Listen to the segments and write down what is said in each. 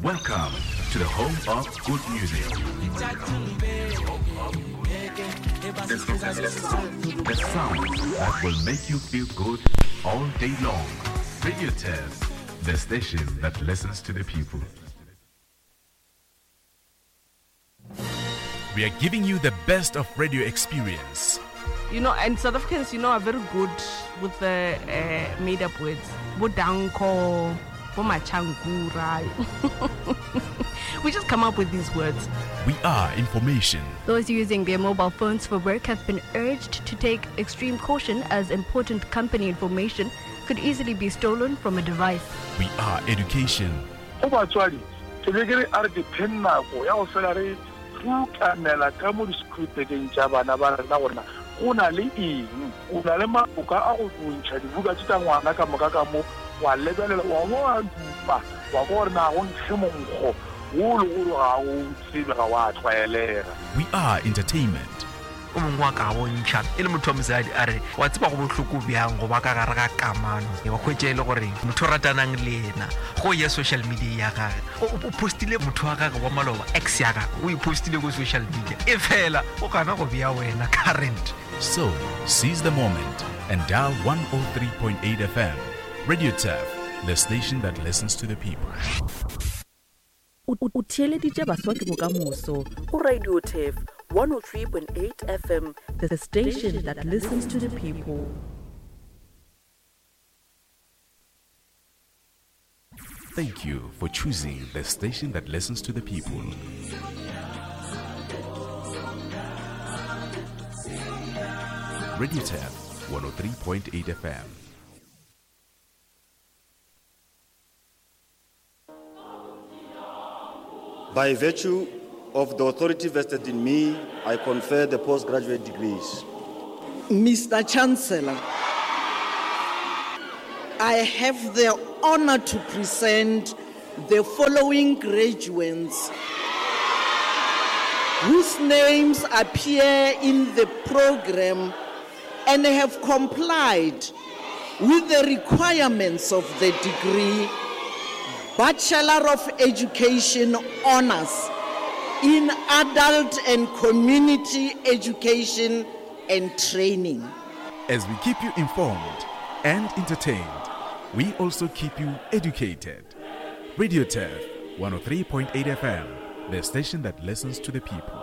Welcome to the home of good music. The sound that will make you feel good all day long. Radio Test, the station that listens to the people. We are giving you the best of radio experience. You know, and South Africans, you know, are very good with the uh, made up words. Bodanko, Bomachankura. we just come up with these words. We are information. Those using their mobile phones for work have been urged to take extreme caution as important company information could easily be stolen from a device. We are education. Go batswadi, ke be ke re a re dipheng nako ya go fela re rutamela ka mo di-schoolbageng tša bana ba rena gore na go na le eng. O na le maboka a go ntšha dibuka tše tša ngwana ka moka ka mo, wa lebelela, wa bo wa dupa, wa kwa gore na go nkge monkgo wo le gore ga o tsebe, ga wa tlwaelega. We are entertainment. O mongwe wa ka bontšha e le motho wa mosadi a re, Wa tseba go bohloko bjang go ba ka gare ga kamano, wa hwetša e le gore motho o ratanang le yena go ya social media ya gage o postile motho wa gage wa maloba, ex ya gage o e postile ko social media, e fela o gana go bea wena current. So, seize the moment and dial 103.8 FM. Radio Turf, the station that listens to the people. O theeleditše Baswa ke Bokamoso go Radio Turf 103.8 FM, the station that listens to the people. Thank you for choosing the station that listens to the people. Radio Tap 103.8 FM. By virtue of the authority vested in me, I confer the postgraduate degrees. Mr. Chancellor, I have the honor to present the following graduates whose names appear in the program and have complied with the requirements of the degree Bachelor of Education Honors in Adult and Community Education and Training. As we keep you informed and entertained, we also keep you educated. Radio Turf 103.8 FM, the station that listens to the people.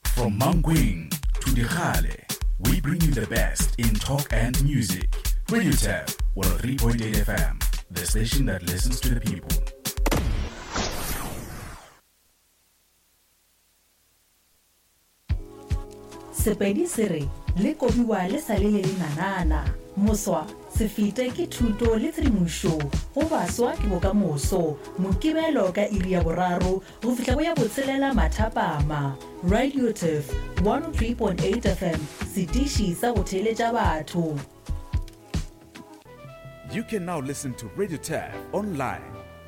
From Mankweng to Dikgale, we bring you the best in talk and music. Radio Tap 103.8 FM, the station that listens to the people. Sepedi se re le kobiwa le sa le le lenanana. Moswa, se fete ke thuto le tshedimošo go baswa ke bokamoso. Mokibelo ka iri ya boraro go fihla go ya botshelela mathapama. Radio Turf 103.8 FM, setiši sa go theeletša batho. You can now listen to Radio Turf online.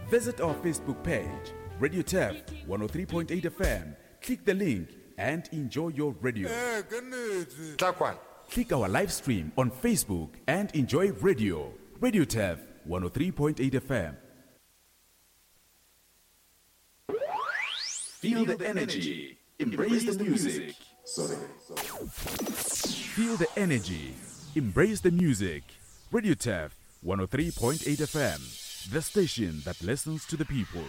Visit our Facebook page, Radio Turf 103.8 FM. Click the link and enjoy your radio. Click our live stream on Facebook and enjoy radio. Radio Turf 103.8 FM. Feel the energy. Embrace the music. Sorry. Feel the energy. Embrace the music. Radio Turf 103.8 FM, the station that listens to the people.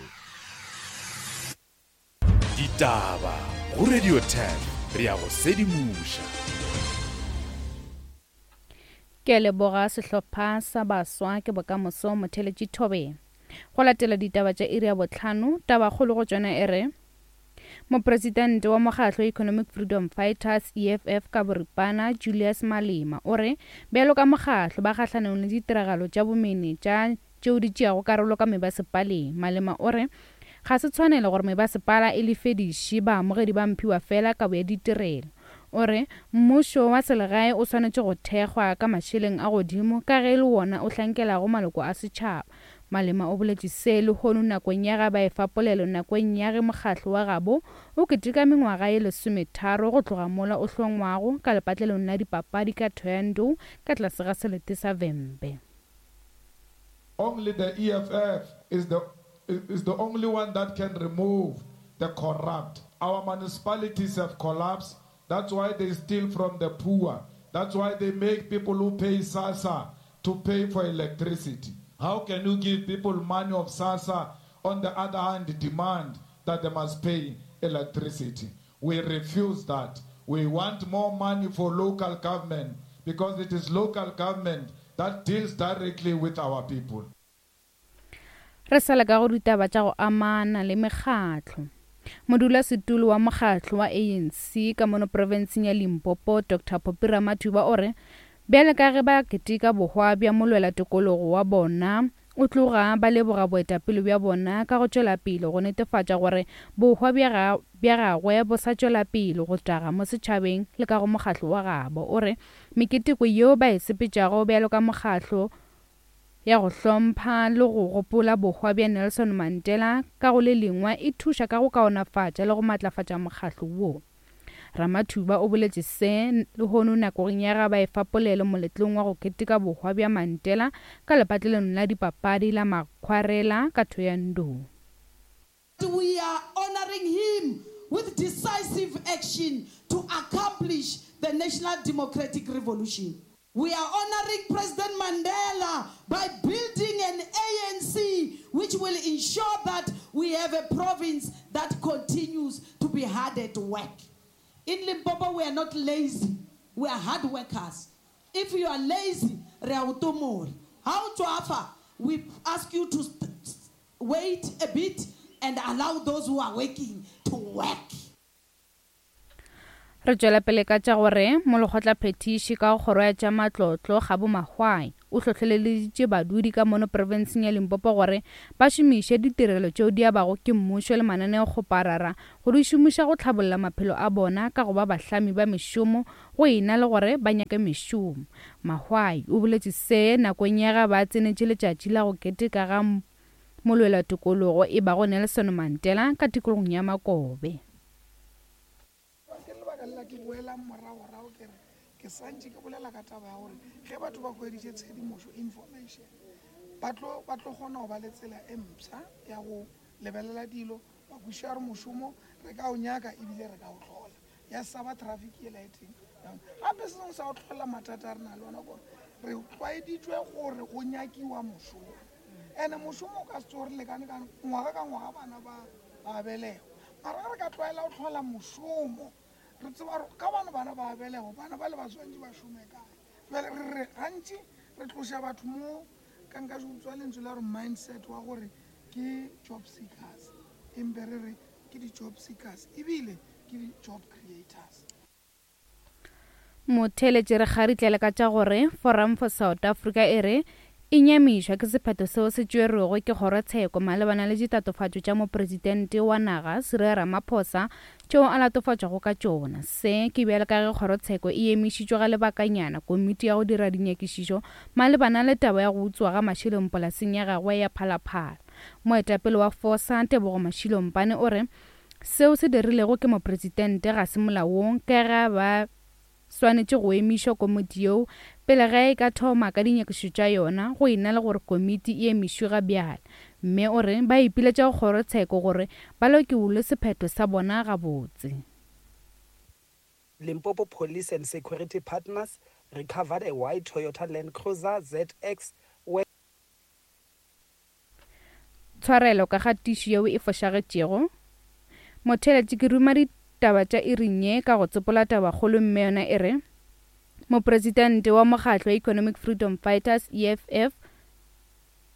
Ditaba go Radio 10 re a go sedimoša. Ke a leboga sehlopha sa baswa ke bokamoso motheletši Thobeng. Go latela ditaba tša iri ya bohlano, tabakgolo go tšona e re, Mopresidente wa mokgatlo Economic Freedom Fighters, EFF, ka boripana, Julius Malema, o re bjalo ka mokgatlo ba kgahlanong le ditiragalo tša bomenetša tšeo di tšeago karolo ka mebasepaleng. Malema o re ga se tshwanelo gore mebasepala e lefediše baamogedi ba mphiwafela kabo ya ditirelo. O re mmušo wa selegae o swanetše go thekgwa ka mašeleng a godimo ka ge e le wona o hlankelago maloko a setšhaba. Malema o boletše se lehono nakong ya ge ba efa polelo nakong ya ge mokgatlo wa gabo o keteka mengwaga ye lesometharo go tloga mola o hlongwago ka lepatlelong la dipapadi ka Thohoyandou ka tlase ga selete sa Vhembe. Only the EFF is the is the only one that can remove the corrupt. Our municipalities have collapsed. That's why they steal from the poor. That's why they make people who pay SASSA to pay for electricity. How can you give people money of SASSA, on the other hand demand that they must pay electricity? We refuse that. We want more money for local government because it is local government that deals directly with our people. Re sa le ka go ditaba tša go amana le mekgatlo. Modulasetulo wa mokgatlo wa ANC ka mono profenseng ya Limpopo, Doctor Phophi Ramathuba o re bjale ka ge ba keteka bohwa bja molwela tokologo wa bona, o tloga ba leboga boetapele bja bona ka go tšwela pele go netefatša gore bohwa bja bja gagwe bo sa tšwela pele go taga mo setšhabeng le ka go mokgatlo wa gabo. O re meketeko yeo ba e sepetšago bjalo ka mokgatlo ya go hlompha le go gopola bohwa bja Nelson Mandela ka go le lengwe e thuša ka go kaonafatša le go matlafatša mokgatlo wo. Ramathuba o boletše se lehono nakong ya ga ba efa polelo moletlong wa go keteka bohwa bja Mandela ka lepatlelong la dipapadi la Makgwarela ka Thohoyandou. We are honoring him with decisive action to accomplish the national democratic revolution. We are honoring President Mandela by building an ANC which will ensure that we have a province that continues to be hard at work. In Limpopo, we are not lazy. We are hard workers. If you are lazy, re a o tomola. Ha o tšwafa, we ask you to wait a bit and allow those who are working to work. Re tšwela pele ka tša gore Molekgotlaphethiši ka go Kgoro ya tša Matlotlo, Kgabo Mahwai, o hlohleleditše badudi ka mono profenseng ya Limpopo gore ba šomiše ditirelo tšeo di abago ke mmušo le mananeokgoparara go di šomiša go tlhabolla maphelo a bona ka go ba bahlami ba mešomo go e na le gore ba nyake mešomo. Mahwai o boletše se nakong ya ge ba tsenetše letšatši la go keteka ga molwelatokologo e bago Nelson Mandela ka tikologong ya Makobe. Ke lebaka lela ke boelang moragorago ke re ke santše ke bolela ka taba ya gore ge batho ba hweditše tshedimošo, information, ba tlo ba tlo kgona go ba le tsela e mpsha ya go lebelela dilo, ba kwešiša gore mošomo re ka o nyaka ebile re ka o hlola, ya sa ba traffic yela e teng. Gape se sengwe sa go hlola mathata a re na le ona kore re tlwaeditšwe gore go nyakiwa mošomo, ene mošomo o ka se tsoge re lekane ka ngwaga ka ngwaga bana ba ba belegwa. Mara ge re ka tlwaela go hlola mošomo, re tseba gore ka gobane bana ba belegwa, bana bale ba swanetše ba šome kae. Bjale re re gantši re tloša batho mo, ka nka utswa lentswe la gore mindset wa gore ke job seekers, empe re re ke di-job seekers ebile ke di-job creators. Motheeletši re kgaritlele ka tša gore Forum for South Africa e re e nyamišwa ke sephetho seo se tšerwego ke kgorotsheko malebana le ditatofatšo tša mopresidente wa naga Cyril Ramaphosa tšeo a latofatšwago ka tšona. Se ke bjalo ka ge kgorotsheko e emišitšwe ga lebakanyana komiti ya go dira dinyakišišo malebana le taba ya go utswa ga mašeleng polaseng ya gagwe ya Phalaphala. Moetapele wa FOSA Tebogo Mashilo-Mpane o re Seo se dirilego ke mopresidente ga se molaong ka ge ba swanetše go emišwa komiti yeo pele ge e ka thoma ka dinyakišišo tša yona go e na le gore komiti e emišwe ga bjale. Mme o re ba ipiletša go kgorotsheko gore ba lokiwle sephetho sa bona gabotse. Limpopo Police and security partners recovered a white Toyota Land Cruiser ZX where. Tshwarelo ka ga tišo yeo e fošagetšego. Motheeletši ke ruma ditaba tša iring ye ka go tsopola tabakgolo mme yona e re, Mopresidente wa mokgatlo wa Economic Freedom Fighters, EFF,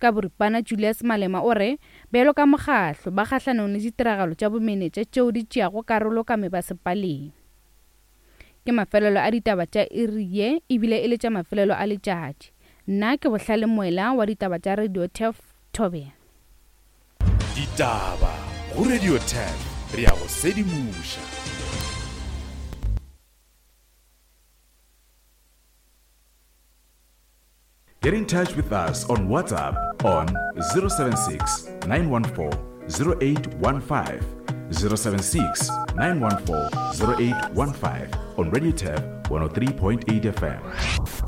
ka boripana Julius Malema o re bjalo ka mokgatlo ba kgahlanong le ditiragalo tša bomenetša tšeo di tšeago karolo ka mebasepaleng. Ke mafelelo a ditaba tša iri ye ebile e le tša mafelelo a letšatši. Nna ke Bohlale Moela wa ditaba tša Radio Turf Thobela. Ditaba go Radio Turf re a go sedimoša. Get in touch with us on WhatsApp on 076 914 0815. 076 914 0815 on Radio Turf 103.8 FM.